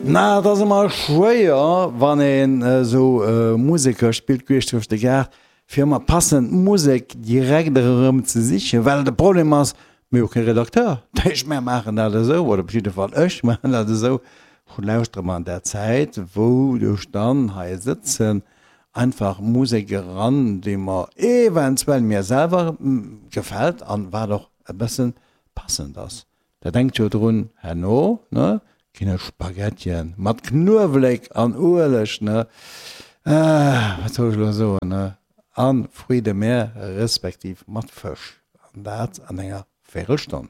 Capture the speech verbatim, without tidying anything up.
Na, et ass ëmmer schwéier, wann een esou Museker spillt queesch duerch de Gaart, fir ëmmer passend Musek direkt erëm ze sichen, well de Problem ass, mir hu kee Redakteur. Dat heescht, mär maachen dat esou, oder op jidde Fall ech maachen dat esou, ech lauschtere mer an där Zäit, wou ech dann hei sëtzen, einfach Musek eran, déi mer eventuell mir selwer gefält an wat och e bëssen passend ass. Da denkt jo drun, herno, ne, ginn et Spaghettien mat Knuewelek an Ueleg, ne, wat soll ech elo soen, ne, a Fruits de mer respektiv mat Fësch, an dat an enger Véirelstonn.